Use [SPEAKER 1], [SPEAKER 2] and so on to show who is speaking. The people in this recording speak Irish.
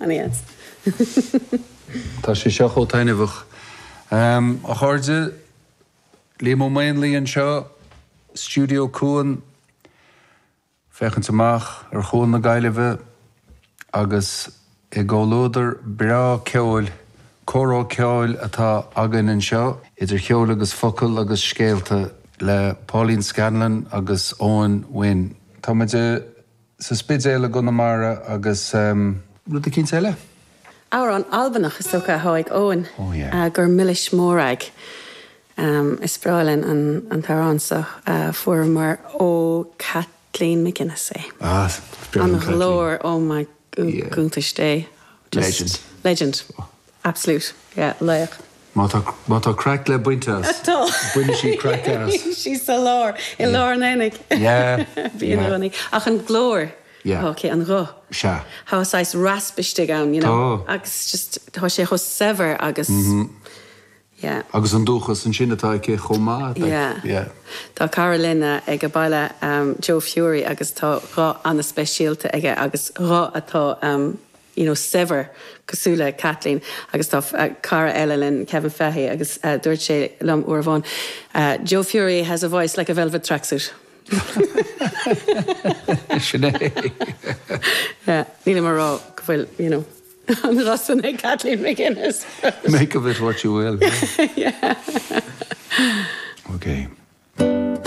[SPEAKER 1] Ana-dheas.
[SPEAKER 2] Tá sé seo chomh taitneamhach. A chairde, Liam Ó Maonlaí anseo, Stiúideo Cuan, féachaint amach ar Chuan na Gaillimhe agus i gcomhluadar breá ceoil, comhrá ceoil atá againn anseo, idir cheol agus focail agus scéalta le Pauline Scanlon agus Eoin Wynne. Tá muid sa Spidéal i gConamara agus rud eicínt eile?
[SPEAKER 1] Amhrán Albanach is dócha atá ag Eoin, Gur Mhilis Mòrag. Is breá linn an t-amhrán seo. Fuaireamar ó Kathleen McGuinness é. An ghlór, oh my iontais Dé.
[SPEAKER 2] Legend.
[SPEAKER 1] Legend. Absolute. Yeah, laoch.
[SPEAKER 2] Má tá, má tá craic le baint as.
[SPEAKER 1] Tá.
[SPEAKER 2] Baineann sí craic as.
[SPEAKER 1] Bíonn sí sa lár, i lár an aonaigh.
[SPEAKER 2] Yeah.
[SPEAKER 1] Bíonn i gcónaí. Ach an glór.
[SPEAKER 2] Yeah.
[SPEAKER 1] Ok, an ghuth.
[SPEAKER 2] Sea.
[SPEAKER 1] Tá saghas rasp istigh ann, you know.
[SPEAKER 2] Tá.
[SPEAKER 1] Agus just, tá sé chomh saibhir agus. Yeah.
[SPEAKER 2] Agus an dúchas ansin atá aici chomh maith.
[SPEAKER 1] Yeah.
[SPEAKER 2] Yeah.
[SPEAKER 1] Tá cara linn ag an baile, Joe Furey, agus tá guth an-speisialta aige agus guth atá you know saibhir cosúil le Kathleen agus tá cara eile linn, Kevin Fahey, agus dúirt sé liom uair amháin, Joe Furey has a voice like a velvet tracksuit.
[SPEAKER 2] Sin é.
[SPEAKER 1] Yeah. Nílim ag rá go bhfuil, you know. An guth sin ag Kathleen McGuinness.
[SPEAKER 2] Make of it what you will.
[SPEAKER 1] Yeah.
[SPEAKER 2] Ok.